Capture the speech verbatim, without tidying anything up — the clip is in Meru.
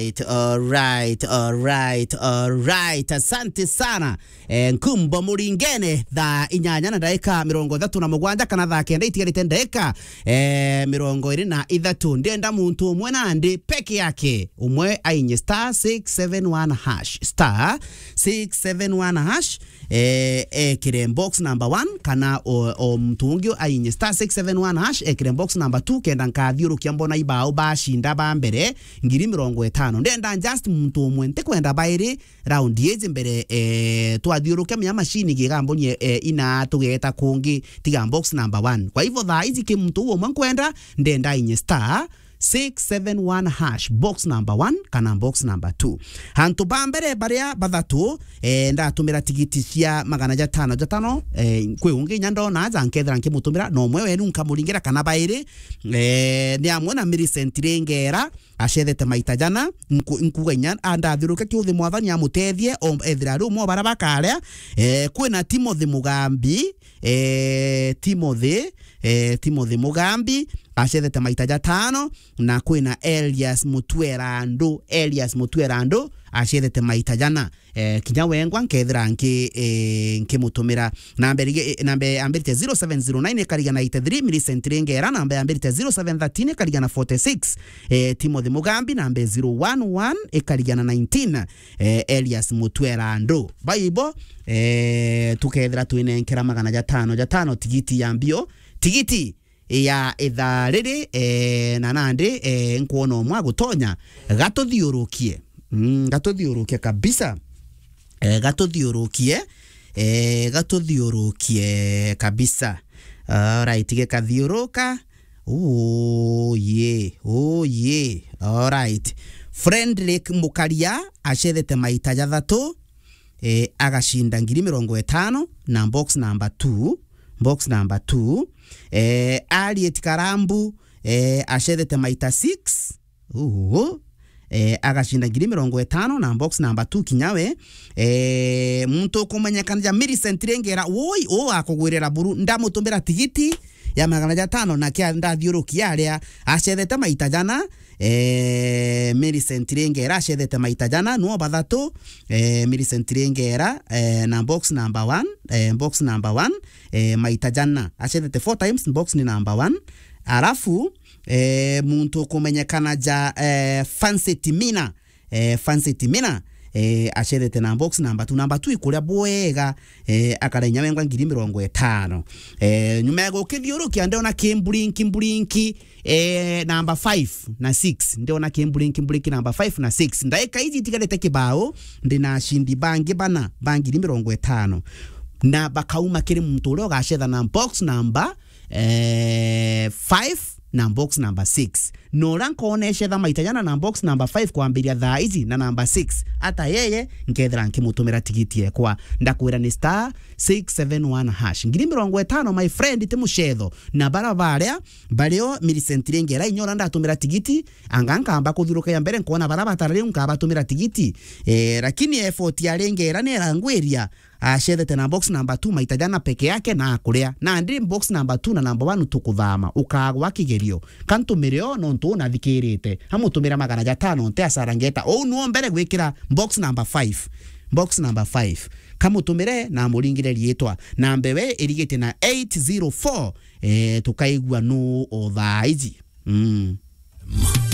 Alright, alright, alright, alright. Asante sana. Eh, Nkumbo Muringene, thaa inyanya na ndaika mirongo ithatu na mugwanja kana thaa kenda itigarite ndaika, eh, mirongo iri na ithatu. Ndenda muntu umwe nandi peke yake. Umwe ainye star six seven one hash. Star six seven one hash. Eh, ekire box number one, kana o, o muntu ungi ainye star six seven one hash, ekire box number two, kenda nkathiurukia mbona ibao bacinda ba mbere, ngiri mirongo itano. Ndenda just muntu umwe, ntikwenda bairi round iji mbere, eh, twathiurukia mia machine gigambonie, eh, ina tugeta kungi, tiga box number one. Kwa hivyo thaa iji ki muntu umwe nkwenda, ndenda ainye star six seven one hash, box number one kana box number two. Hantu ba mbere baria bathatu, eh, ndatumira tigiti cia magana jatano jatano, eh, kwi ungi inya ndona aja nkethira nkimutumira, na umwe wenu nkamuringira kana bairi, eh, ni amwe na Millicent Ringera, acethete maita jana, nku-, nkuga inya andathiuruke kiuthi mwathani amutethie, o, ethira ari umwe wa baria bakaria, eh, kwina Timothy Mugambi, eh, Timothy, eh, Timothy Mugambi, acethete maita jatano, na kwina Elias Mutuerandu, Elias Mutuerandu, acethete maita jana. Eh, kinya wengwa nkethira nki-, eh, nkimutumira. Namba irige-, eh, namba yambirite zero seven zero nine ikarigana eighty three, Millicent Ringera, namba yambirite zero seven thirteen ikarigana forty six, eh, Timothy Mugambi, namba zero one one ikarigana nineteen, eh, Elias Mutuerandu. Baibo, eh, tukethira twinenkera magana jatano jatano tigiti ya mbio, tigiti ya ithaa riri, eh, na nandi, eh, nkwona umwe agutonya, gatuthiurukie. Mm, gatuthiurukie kabisa. Eh, gatuthiurukie. Eh, gatuthiurukie kabisa. Alright, gikathiuruka. Oh, yeah. Oh, yeah. Alright. Frederick Mukaria acethete maita jathatu, eh, agacinda ngiri mirongo itano na box number two, box number two. Eh, Harriet Karambu, eh, acethete maita six. Uhu. Eh, agacinda ngiri mirongo itano na box number two kinya we. Eh, muntu ukumenyekana ja Millicent Ringera, woi, u akugwirira buru, ndamutumira tigiti ya magana jatano na kia ndathiurukia aria acethete maita jana, eh, Millicent Ringera acethete maita jana, nuo bathatu, eh, Millicent Ringera, eh, na box number one, eh, box number one, eh, maita jana. Acethete four times, box ni number one. Arafu, eh, muntu ukumenyekana ja, eh, Fancy Timina, eh, Fancy Timina, eh, acethete na box number two. Number two ikuria bwega, eh, akarenya wengwa ngiri mirongo itano. Eh, nyuma ya gukithiurukia, ndiona kimburinki, mburinki, eh, number five na six. Ndiona kimburinki, mburinki number five na six. Ndaika iji itigarite kibao, ndina acindi bangi bana ba ngiri mirongo itano. Na bakauma kiri muntu uria ugacetha na box number, eh, five na box number six. Na uria nkoona ecetha maita jana na box number five kwambiria thaa iji na number six, ata yeye nkethira nkimutumira tigiti ekwa. Ndakwira ni star six seven one hash. Ngiri mirongo itano, my friend, ti mucetho. Na bara baria bario Millicent Ringera, inya uria ndatumira tigiti, anga nkamba kuthiuruka ya mbere, nkoona bara batara riu nkabatumira tigiti. Eh, lakini effort ya Ringera ni irangwiria, acethete na box number two maita jana peke yake na akuria. Nandi box number two na number one tukuthama, ukagwa kigerio. Kantumire o nontu unathikirite. Amutumira magana jatano, nte asara ngeta. Ou nuo mbere gwikira box number five. Box number five. Kamutumire na amuringire riitwa. Na mbewe irigite na eight zero four. Eh, tukaigua nu o thaa iji. Mm.